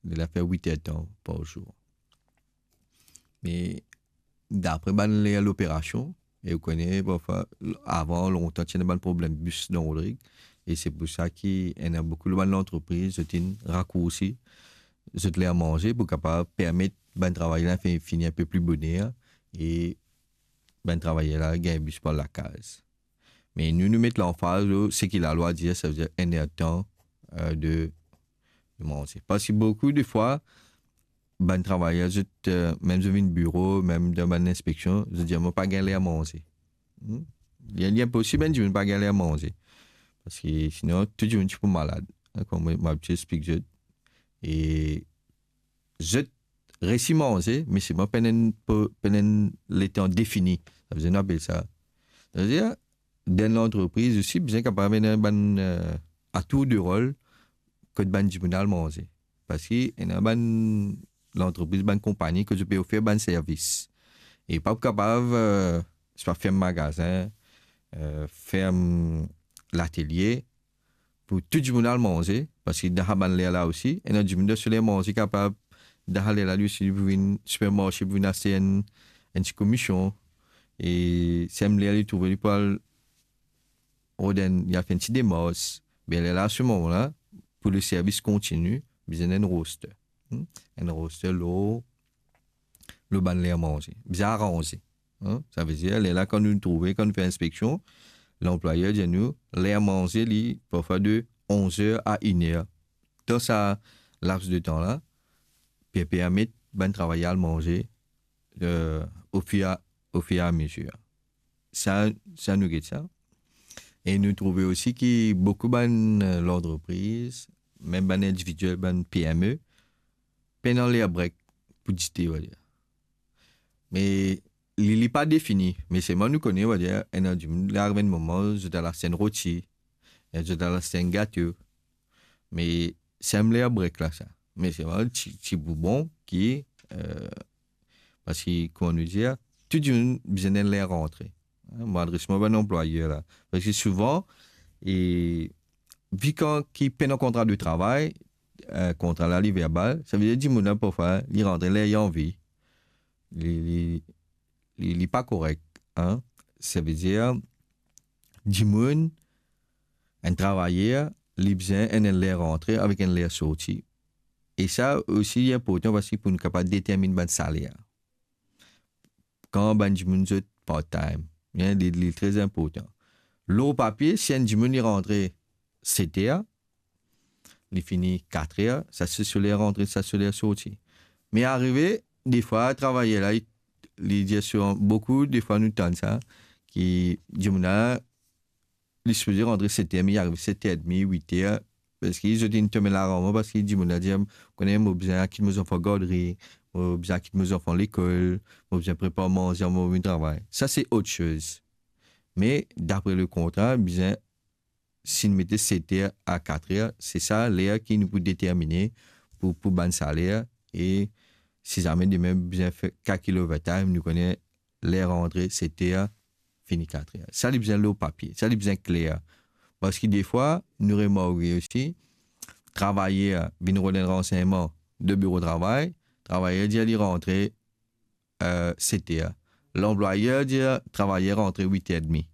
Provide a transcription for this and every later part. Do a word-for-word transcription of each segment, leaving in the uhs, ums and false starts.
Li la fer wit er tan par zour. Me dapre bann ler loperasion, e ou kone, parfwa, avan, lontan, ti ena bann problem bis dan Rodrig, e se pou sa ki ena boukou bann lantrepriz, zot inn rakoursi zot ler manze pou kapav permet bann travayer la fi-, fini inpe pli boner, e bann travayer la gagn bis pou al lakaz. Me nou, nou met lanfaz lor seki lalwa dir, savedir enn er tan, eh, de, de manze. Parski boukou de fwa, bann travayer, zot, eh, mem zot vinn biro, mem dan bann inspeksion, zot dir, "Mo pa gagn ler manze." Hmm? Li, li inposib enn dimoun pa gagn ler manze. Parski sinon, tou dimoun ti pou malad. Hein, kouma mo, mo abitie explik zot. E zot resi manze, me selman pena enn po-, pena enn letan defini. Savedir nou apel sa. Savedir, dan lantrepriz osi, bizin kapav ena bann, eh, atour de rol kot bann dimoun al manze. Parski ena bann lantrepriz, bann konpagni kot zot pe ofer bann servis. E pa pou kapav, eh, swa ferm magazin, eh, ferm latelie, pou tou dimoun al manze, parski dan sa bann ler la osi, ena dimoun dan so ler manze kapav, dan sa ler la li osi, li pou vinn sipermarse, pou vinn aste enn, enn ti komision, e si enn ler li trouve li pou al rod enn, li al fer enn ti demars, be lerla, se moman la, pou le servis kontini, bizin enn roster. Hmm? Enn roster lor, lor bann ler manze. Bizin aranze. Hein? Savedir, lerla, kan nou trouve, kan nou fer inspeksion, lanplwayer dir nou, ler manze, li, parfwa de onz er a inn er. Dan sa laps de tan la, pe permet bann travayer al manze, eh, ofir a, ofir a mezir. Sa, sa nou get sa. E nou trouve osi ki boukou bann, eh, lantrepriz, mem bann individiel, bann P M E, pena ler break pou dite, on va dire. Me li, li pa defini, me selman nou kone, on va dire, ena dimoun, li ariv enn moman, zot al aste enn roti, zot al aste enn gato. Me se enn ler break la, sa. Me selman ti, ti boubon ki, eh, parski, kouma nou dir, tou dimoun bizin enn ler rantre. Hein, mo adres mwa bann anplwayer la. Parski souvan, e, vi kan ki pena kontra de travay, eh, kontra la li verbal, savedir dimoun la parfwa, li rantre ler li anvi. Li, li, li, li pa korek, hein. Savedir, dimoun, enn travayer, li bizin enn, enn ler rantre avek enn ler sorti. E sa osi li inportan parski pou nou kapav determinn bann saler. Kan bann dimoun zot part-time, bien, li, li tre inportan. Lor papie, si enn dimoun li rantre set er, li fini kat er, sa se so ler rantre, sa so ler sorti. Me arive, defwa, travayer la, li, li dir swa boukou, defwa nou tann sa, ki dimoun la, li sipoze rantre set er, me li ariv set er edmi, wit er, parski zot inn tonbe laranmor, parski dimoun la dir, kone, mo bizin al kit mo zanfan gardri, mo bizin al kit mo zanfan lekol, mo bizin prepar manze avan mo vinn travay. Sa se ot soz. Me dapre le kontra, bizin, si nou mete set er a kat er, se sa ler ki nou pou determine pou, pou bann saler, e si zame demin bizin fer kalkil overtime, nou kone ler rantre set er, fini kat er. Sa li bizin lor papie, sa li bizin kler. Parski defwa, nou remarke osi, travayer vinn rod enn ransegnman de biro travay, travayer dir li rantre, eh, set er. Lanplwayer dir travayer rantre wit er edmi.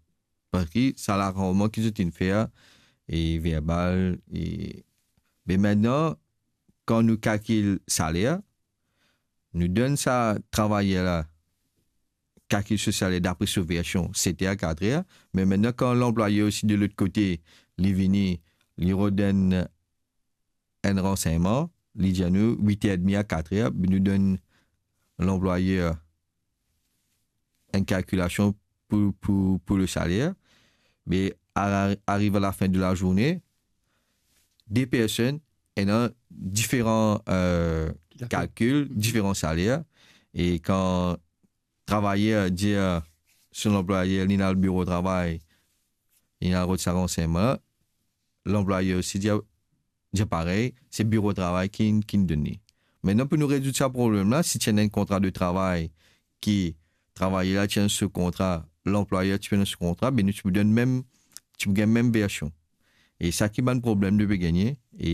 Parski sa laranmor ki zot inn fer, e verbal, e, me mintnan, kan nou kalkil saler, nou donn sa travayer la, kalkil so saler dapre so version, set er a kat er, me mintnan, kan lanplwayer osi de lot kote, li vini, li rod enn, enn ransegnman, li dir nou wit er edmi a kat er, be nou donn lanplwayer enn kalkilasion pou, pou, pou le saler, me a la, ariv a lafin de lazourne, de personn ena diferan, eh, Dakor. kalkil, diferan saler, e kan travayer dir so lanplwayer, li al biro travay, li al rod sa ransegnman, lanplwayer osi dir, dir parey, se biro travay ki, ki donn li. Mintnan, pou nou rezoud sa problem la, si ti ena enn kontra de travay ki travayer la ti ena so kontra, lanplwayer ti ena so kontra, be nou ti pou donn mem, ti pou gagn mem version. E sa ki bann problem nou pe gagne, e